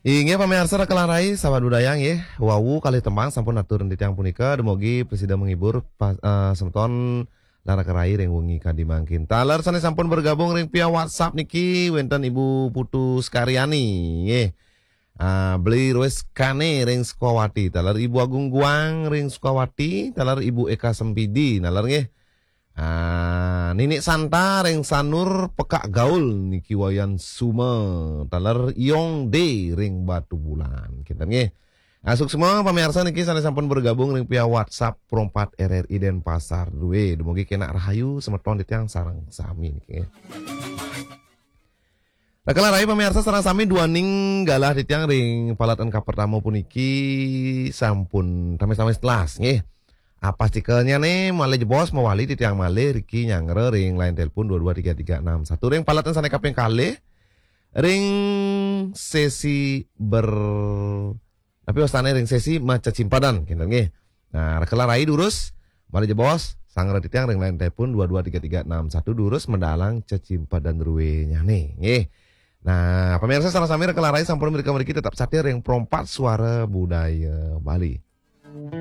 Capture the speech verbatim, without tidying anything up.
Inggih pamiarsa raka lan rai, sahabat budaya nggih. Wau kalih tembang sampun atur titiang punika, dumugi prasida menghibur pas, eh, semeton lan raka rai ring wengi kadi mangkin. Taler sane sampun bergabung ring via WhatsApp niki wenten Ibu Putu Skaryani nggih. Ah, Beli Roes Kane ring Sukawati, taler Ibu Agung Guang ring Sukawati, taler Ibu Eka Sempidi, taler nggih. Ah, Nini Santa ring Sanur Pekak Gaul niki Wayan Suma, taler Iong D ring Batubulan. Kinten nggih. Ah, suksma pamiarsa niki sane sampun bergabung ring via WhatsApp Pro empat R R I Denpasar due. Dumugi kenak rahayu semeton titiang sareng sami niki. Raka lan rai pamiarsa sareng sami, duaning galah titiang ring palatan kapertama puniki sampun tamis-tamis telas nggih. Apa stikernya nih malih jebos mawali titiang malih riki nyanggra ring line telepon dua dua tiga tiga enam satu ring palatan sane kaping kalih ring sesi ber tapi wastane ring sesi maca cimpadan kinten nggih. Nah, raka lan rai durus malih jebos sanggra titiang ring line telepon dua dua tiga tiga enam satu durus medalang cecimpadan ruenyane nggih. Nah, pemirsa sareng sami raka lan rai sampun mrika mriki tetap satia ring Pro empat Suara Budaya Bali.